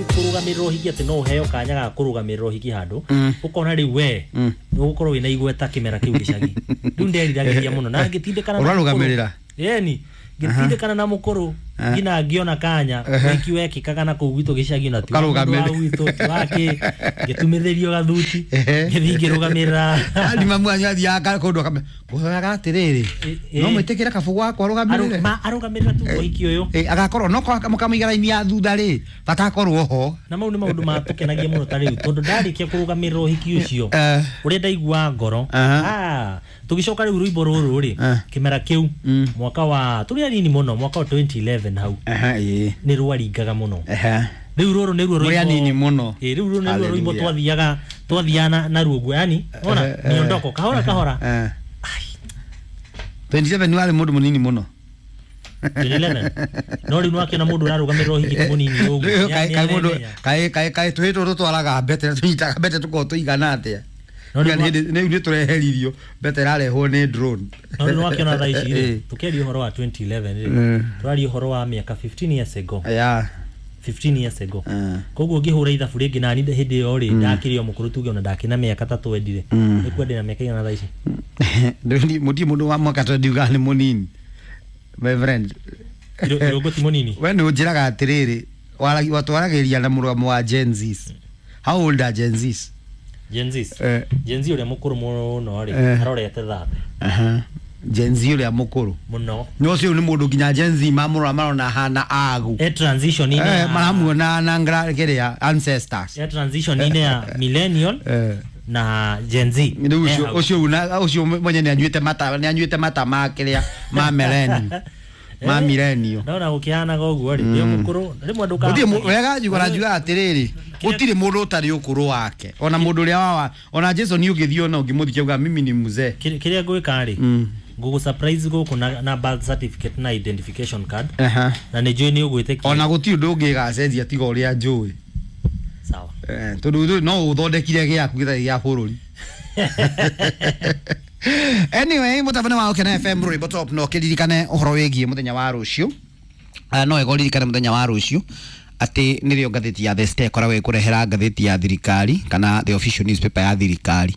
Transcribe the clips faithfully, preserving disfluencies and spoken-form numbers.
Kũrũgamĩrĩra ũhiki, atĩ no ũheo kanya ga kũrũgamĩrĩra ũhiki handũ, ũkona rĩu we nĩ ũgũkorwo wĩna igweta kĩmera kĩu gĩcagi. Rĩu nderiragĩria mũno na ngĩtindĩkana na Ũrarũgamĩrĩra? mũkũrũ. Ĩni, ngĩtindĩkana na mũkũrũ nginya ngĩona kanya. Ũhiki wekĩkaga na kũu gwitũ gĩcagi, na ti wa mũndũ wa Ũkarũgamĩrĩra. gwitũ, ti wakĩ, ngĩtumithĩrio gathuti, Ehe. ngĩthiĩ ngĩrũgamĩrĩra. Ani mamu anyu athiaga kũndũ akame ngũhoyaga atĩrĩrĩ, Ĩ- no ĩ. mwĩtĩkĩre kabũgũ wakwa Arũ- arũgamĩrĩre. ma- arũgamĩrĩra tu ũhiki ũyũ. Ĩ, agakorwo no mũkamũiga raini ya thutha rĩ, bata akorwo ho. Na mau nĩ maũndũ matũkenagia mũno ta rĩu, tondũ ndarĩkia kũrũgamĩrĩra ũhiki ũcio, Eh. ũrĩa ndaigua ngoro. Aha. Ah, tũgĩcoka rĩu rwĩmbo rũrũ rĩ, Eh. kĩmera kĩu, Mm. mwaka wa tũrĩ anini mũno, mwaka wa twenty eleven hau, Aha, ĩ. nĩ rwaringaga mũno. Aha. Rĩu rũrũ nĩruo Mũrĩ rwĩmbo- anini mũno. Ĩ, rĩu rũrũ nĩruo rwĩmbo Hallelujah. twathiaga twathiaga na- naruo guo, yani ona Eh, eh. miondoko kahora kahora. Eh. twenty-seven warĩ mũndũ mũnini mũno. twenty eleven, no rĩu nĩwakĩona mũndũ ũrarũgamĩrĩra ũhiki ti mũnini ũguo. Rĩu Nĩ- kaĩ- nĩ kaĩ mũndũ aremenya. kaĩ kaĩ kaĩ tũhĩ tũtũ twaraga mbete na tũnyitaga mbete tũkorwo tũigana atĩa? No rĩu Rĩu rĩu nĩ tũreheririo, mbete ĩrarehwo nĩ drone. No rĩu nĩwakĩona thaa ici rĩ, Ĩ. tũkĩaria ũhoro wa twenty eleven rĩ, Mm. tũraria ũhoro wa mĩaka fifteen years ago. Ya. fifteen years ago. Mm. Koguo ngĩhũra ithabu rĩngĩ nani hĩndĩ ĩyo rĩ, ndakĩrĩ o mũkũrũ, tuge ona ndakĩna mĩaka ta twendire, Mm. nĩ kwendĩ na mĩaka igana thaa ici? Mũtirĩ mũndũ wa mwaka twenty ugaga nĩ mũnini, my friend. Iro- irũngũ ti mũnini. We nĩ ũnjĩraga atĩrĩrĩ, wara- watwaragĩria na mũrũgamo wa Gen Zs. How old are Gen Zs? Gen Zs? Eh. Gen Z ũrĩa mũkũrũ mũno rĩ, Eh. arorete thate. Aha. Gen Z ũrĩa mũkũrũ Mũno. no ũcio nĩ mũndũ nginya Gen Z mamũrora marona hana agu. E transition-inĩ Eh, ya- maramuona na ngra- kĩrĩa ancestors. E transition-inĩ ya millennial Eh. na Gen Z. Rĩu Eh, ũcio hau. ũcio una- ũcio mwenye nĩ anyuĩte mata, nĩ anyuĩte mata ma kĩrĩa ma millennium, ma millennial. Ndona gũkĩhanaga ũguo rĩ, ndĩ mũkũrũ rĩmwe. Gũtirĩ mũ- Ndũka wega njuga na njugaga atĩrĩrĩ, gũtirĩ mũndũ ũtarĩ ũkũrũ wake, ona mũndũ ũrĩa wawa, ona Jason ũngĩthiĩ ona ũngĩmũthikia uga mimi ni mzee. Kĩrĩa kĩrĩa ngwĩka rĩ, Mm. ngũgũ surprise gũkũ na, na birth certificate na identification card, Aha. na nĩ njũĩ nĩ ũgwĩtĩkia. Ona gũtirĩ ũndũ ũngĩgacenjia tiga ũrĩa njũĩ. Sawa. Eh, tondũ ũndũ- no ũthondekire gĩaku gĩtarĩ gĩa bũrũri. Anyway, mũtabania wa Ũkena F M, rwĩmbo top, no kĩririkane ũhoro wĩgiĩ mũthenya wa rũciũ. Ah, no wega ũririkane mũthenya wa rũciũ atĩ nĩrĩo ngathĩti ya The Star ĩkoragwo ĩkũrehera ngathĩti ya thirikari, kana the official newspaper ya thirikari,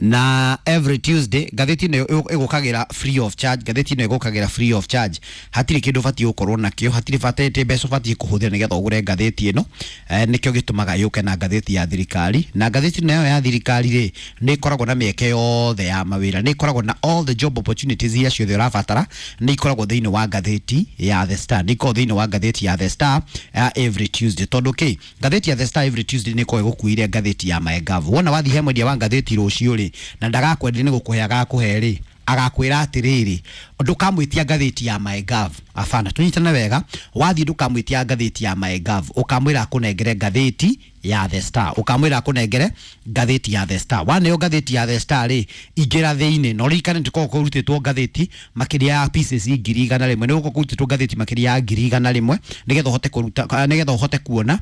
na every Tuesday ngathĩti ĩno ĩ- ĩgũkagĩra free of charge. Ngathĩti ĩno ĩgũkagĩra free of charge, hatirĩ kĩndũ ũbatiĩ gũkorwo nakĩo, hatirĩ bata ĩtĩ mbeca ũbatiĩ kũhũthĩra nĩgetha ũgũre ngathĩti ĩno. eh, nĩkĩo gĩtũmaga yũke na ngathĩti ya thirikari, na ngathĩti ĩno ya thirikari rĩ, nĩ ĩkoragwo na mĩeke yothe ya mawĩra, nĩ ĩkoragwo na all the job opportunities iria ciothe ũrabatara, nĩ ikoragwo thĩinĩ wa ngathĩti ya The Star, nĩ ikoragwo thĩinĩ wa ngathĩti ya The Star ya every Tuesday. Tondũ kĩ ngathĩti ya The Star every Tuesday nĩ ĩkoragwo ĩgũkuĩire ngathĩti ya MyGov. Wona wathiĩ he mwendia wa ngathĩti rũciũ rĩ, na ndagakwenderia, nĩ gũkũhe agakũhe rĩ, agakwĩra atĩrĩrĩ, ndũkamwĩtia ngathĩti ya MyGov. Abana, tũnyitane wega, wathiĩ ndũkamwĩtia ngathĩti ya MyGov, ũkamwĩra akũnengere ngathĩti ya The Star, ũkamwĩra akũnengere ngathĩti ya The Star. Waneo ngathĩti ya The Star rĩ, ingĩra thĩinĩ na ũririkane tũkoragwo kũrutĩtwo ngathĩti makĩria ya pieces ngiri igana rĩmwe, nĩ gũkorwo kũrutĩtwo ngathĩti makĩria ya ngiri igana rĩmwe nĩgetha ũhote kũruta, nĩgetha ũhote kuona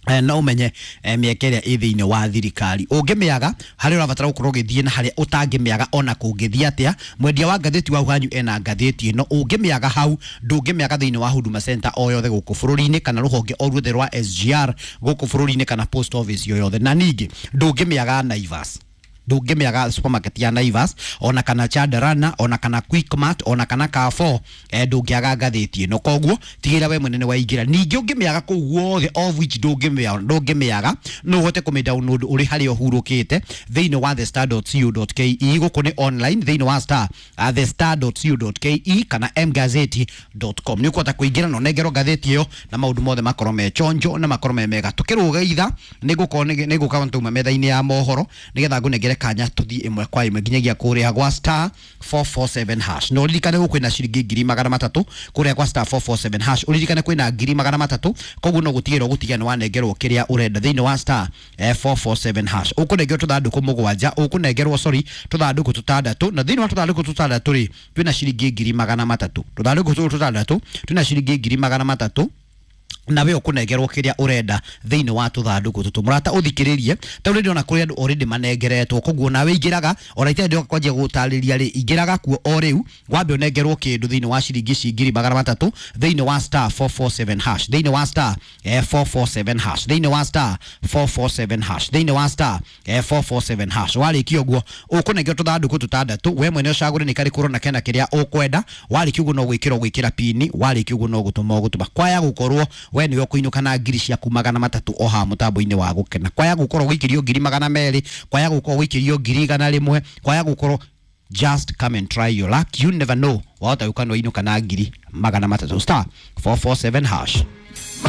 eh, na ũmenye eh, mĩeke ĩrĩa ĩ thĩinĩ wa thirikari. Ũngĩmĩaga harĩa ũrabatara gũkorwo ũgĩthiĩ na harĩa ũtangĩmĩaga, ona kũngĩthiĩ atĩa, mwendia wa ngathĩti wa hanyu ena ngathĩti ĩno. Ũngĩmĩaga hau, ndũngĩmĩaga thĩinĩ wa Huduma Center o yothe gũkũ bũrũri-inĩ, kana rũhonge o ruothe rwa S G R gũkũ bũrũri-inĩ, kana post office o yothe, na ningĩ ndũngĩmĩaga Naivas, ndũngĩmĩaga supermarket ya Naivas, ona kana Chandarana, ona kana Quickmart, ona kana Carrefour, eh, ndũngĩaga ngathĩti ĩno. Koguo tigĩrĩra we mwene nĩ waingĩra. Ningĩ ũngĩmĩaga kũu guothe, of which ndũngĩmĩaga, ndũngĩmĩaga, no ũhote kũmĩ download ũrĩ harĩa ũhurũkĩte thĩinĩ wa thestar dot co dot K E. Gũkũ nĩ online thĩinĩ wa star uh, thestar dot co dot K E kana mgazeti dot com, nĩ ũkũhota kũingĩra na ũnengerwo ngathĩti ĩyo na maũndũ mothe makorwo me chonjo na makorwo me mega. Tũkĩrũga itha nĩ ngũkorwo nĩ ngũka tũma metha-inĩ ya mohoro nĩgetha ngũnengere kanya tũthiĩ ĩmwe kwa ĩmwe nginyagia kũrĩa gwa star four four seven hash. Na ũririkane gũkũ kwĩna ciringi ngiri magana matatũ kũrĩa gwa star four four seven hash, ũririkane kwĩna ngiri magana matatũ. Koguo no gũtigĩrĩra ũgũtigĩrĩra nĩ wanengerwo kĩrĩa ũrenda thĩinĩ wa star eh, four four seven hash. Ũkũnengerwo tũthandũkũ mũgwanja, ũkũnengerwo, sorry, tũthandũkũ tũtandatũ, na thĩinĩ wa tũthandũkũ tũtandatũ rĩ, twĩna ciringi ngiri magana matatũ. Tũthandũkũ tũtũ tũtandatũ twĩna ciringi ngiri magana matatũ. Nawe ũkũnengerwo kĩrĩa ũrenda thĩinĩ wa tũthandũkũ tũtũ. Mũrata, ũthikĩrĩrie, tondũ ndĩrona kũrĩ andũ already manengeretwo, koguo nawe ingĩraga ona itarĩ ndĩroka kwanjia gũtarĩria rĩ, ingĩraga kuo o rĩu, wambe ũnengerwo kĩndũ thĩinĩ wa ciringi ici ngiri magana matatũ thĩinĩ wa star four four seven hash, thĩinĩ wa star eh, four four seven hash, thĩinĩ wa star four four seven hash, thĩinĩ wa star eh, four four seven hash. Warĩkia ũguo, ũkũnengerwo tũthandũkũ tũtandatũ, we mwene ũcagũre nĩ karĩkũ ũrona kena kĩrĩa ũkwenda. Warĩkia ũguo, no gwĩkĩra ũgwĩkĩra pini. Warĩkia ũguo, no gũtũma ũgũtũma. Kwaya gũkorwo we nĩwe ũkũinũka na ngiri ciaku magana matatũ o haha mũtambo-inĩ wa Gũkena, kwaya gũkorwo gũikĩrio ngiri magana merĩ, kwaya gũkorwo gũikĩrio ngiri igana rĩmwe, kwaya gũkorwo, just come and try your luck. You never know, wahota gũka nĩwainũka na ngiri magana matatũ. Star four four seven hash.